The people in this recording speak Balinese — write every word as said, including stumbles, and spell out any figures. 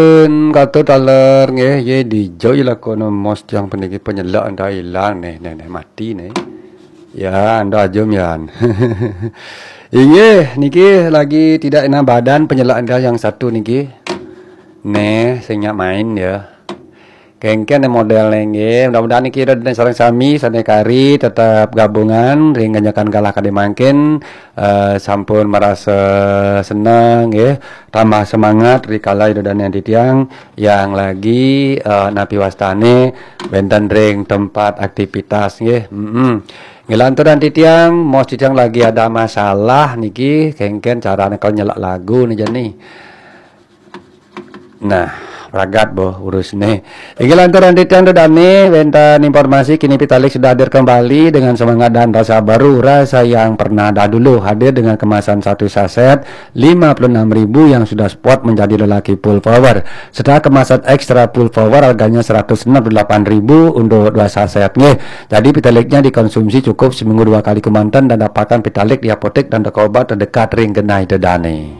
Pun kata taler nggih, ye dijo ye lakono mos tiang puniki penyelak enda ilang neh, neh, neh mati neh. Ya, enda ajum yan. Inggih, niki lagi tidak enak badan penyelak enda yang satu niki. Neh, sing nyak main ya. Kengken model neh nggih. Mudah-mudahan niki ida dané sareng sami sané kari tetap gabungan ring ngenyekan galah kadé mangkin, eh, sampun merasa senang nggih, tambah semangat rikala ida dané titiang yang lagi, eh, napi wastané wénten ring tempat aktivitas nggih. Mm-mm. Ngelanturan titiang, mos titiang lagi ada masalah niki, kengken carané kalau nyelak lagu nih jani. Nah, pragat boh urus nih. Inggih lantaran titiang ida dané wénten informasi kini Pitalik sudah hadir kembali dengan semangat dan rasa baru, rasa yang pernah dahulu hadir dengan kemasan satu saset lima puluh enam ribu yang sudah spot menjadi lelaki full power. Setelah kemasan extra full power harganya seratus enam puluh delapan ribu untuk dua saset nggih. Jadi Pitaliknya dikonsumsi cukup seminggu dua kali kemanten dan dapatkan Pitalik di apotek dan toko obat terdekat ring genah ida dané.